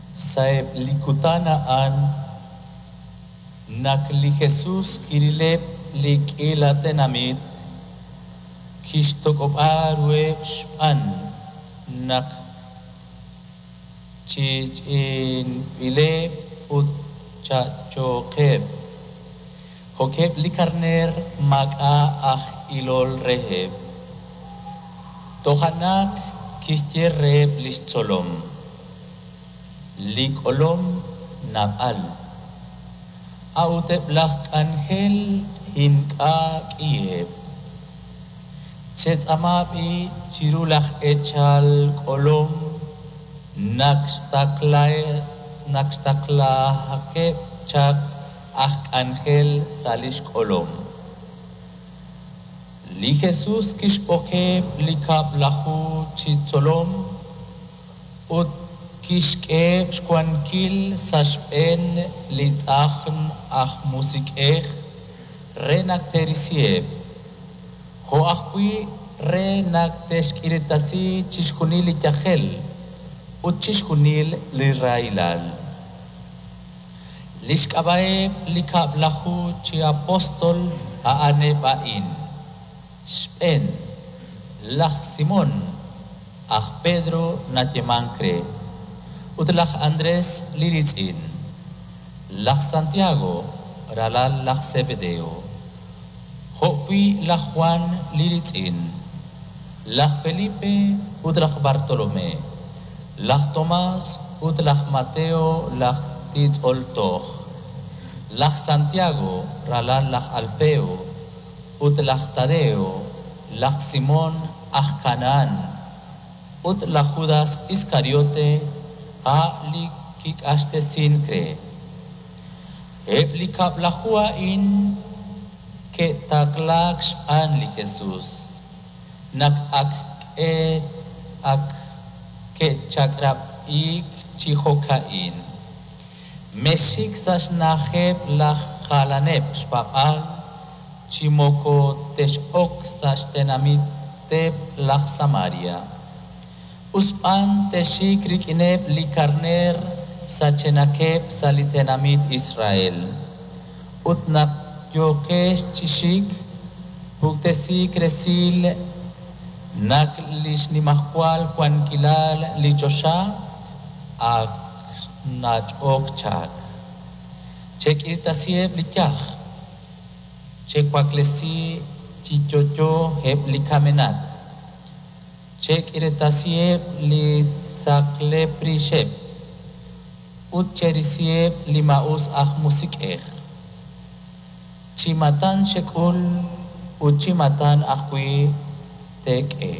Sa'eb' li kutan a'an, naq li Jesus kirileb' li k'iila tenamit, kixtoq'ob'a ruheb' xb'aan naq ch'i'ch'i'inb'ileb' ut cha'chookeb', jo'keb' li karneer maak'a' aj ilol reheb'. Toja' naq kixye reheb' li xtzolom: Li k'olom naab'al, a'ut eb' laj k'anjel ink'a' k'iheb'. Chetz'aama b'i' chiru laj eechal k'olom naq xtaqlahaqeb' chaq aj k'anjel sa' li xk'olom. Li Jesus kixb'oqeb' li kab'laju chi tzolom ut kixk'eheb' xwankil sa' xb'een li tz'ajn aj musiq'ej re naq te'risiheb', jo' ajwi' re naq te'xk'iiresi chixjunil li yajel ut chixjunil li rahilal. Li xk'ab'a'eb' li kab'laju chi apóstol a'aneb' a'in: xb'een, laj Simón, aj Pedro nayeemank re, ut laj Andrés li riitz'in, laj Santiago, ralal laj Sebedeo, jo'wi' laj Jwan li riitz'in, laj Felipe ut laj Bartolomé, laj Tomás ut laj Mateo laj titz'ol toj, laj Santiago, ralal laj Alpeo, ut laj Tadeo, laj Simón aj Kanahán, ut laj Judas Iskariote, a' li kiq'axtesink re. Eb' li kab'laju a'in ke'taqlaak xb'aan li Jesus, naq ak ak ke'chaq'rab'iik chi jo'ka'in: Mexxik sa' xna'ajeb' laj jalaneb' xpaab'aal chi moko tex'ok sa' xtenamiteb' laj Samaria. Us b'an texxik rik'ineb' li karneer sachenaqeb' sa' li tenamit Israel. Ut naq yooqex chi xik, puktesiik resil naq li xnimajwal wankilal li choxa ak xnach'ok chaq. Chek'irtasiheb' li yaj, chewaklesi chi yo'yo eb' li kamenaq, chek'iiretasiheb' li saqlep rixeb' ut cherisiheb' li maa'us aj musiq'ej. Chi maatan xek'ul ut chi maatan ajwi' teek'e.